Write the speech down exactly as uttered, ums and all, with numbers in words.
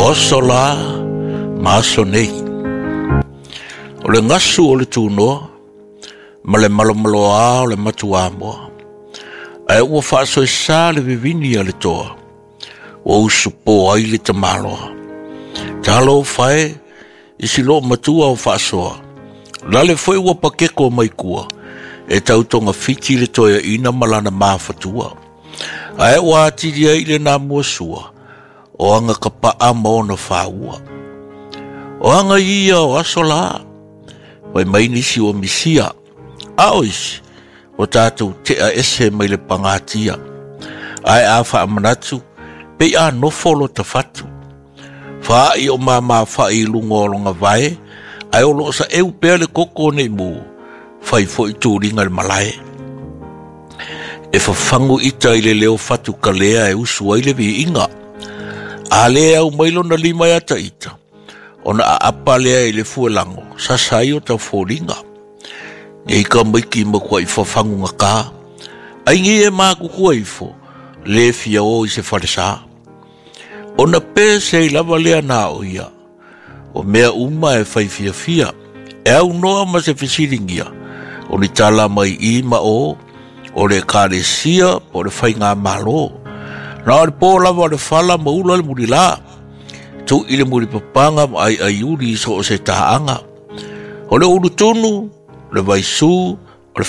O aso la ma aso nei. O le gasu o le tunoa ma le malomaloa o le matuamoa. Ae ua faasoesa le vivini a le toa, ua usupo ai le tamaloa. Talofa e i si loo matua o faasoa, lale foi ua pakeko mai kua, e tau togafiti le toeaina ma lana mafatua. Ae ua atili ai le namua sua, o aga kapaa ma ona faua. O aga ia o aso la, fai mai nisi ua misia, a o isi, ua tatou tea ese mai le pagatia. Ae a faamanatu, pei a nofo lo tafatu. Faai o mamafai i luga o lona vae, ae o loo saeu pea le koko nei mu, fai foi tuliga le malae. E fafagu ita i le leo fatu kalea e usu ai le viiga. A le au mai lona lima ia ita, ona aapa lea i le fuelago, sasa ai o taufoliga. Nei ka maiki makuai fafagu gata, ai nei e makuku ifo, le fia o i se falesa. Ona pese i lava lea na o ia, o mea uma e fai fiafia, e au noa ma se fesilingia, o ni tala mai i ma o, o le ekalesia po o le faigamalo. Na o le po lava o le fala ma ula le mulila, tuu i le mulipapaga ma aiaiuli i so o se taaga. O le ulutunu, le vaisu,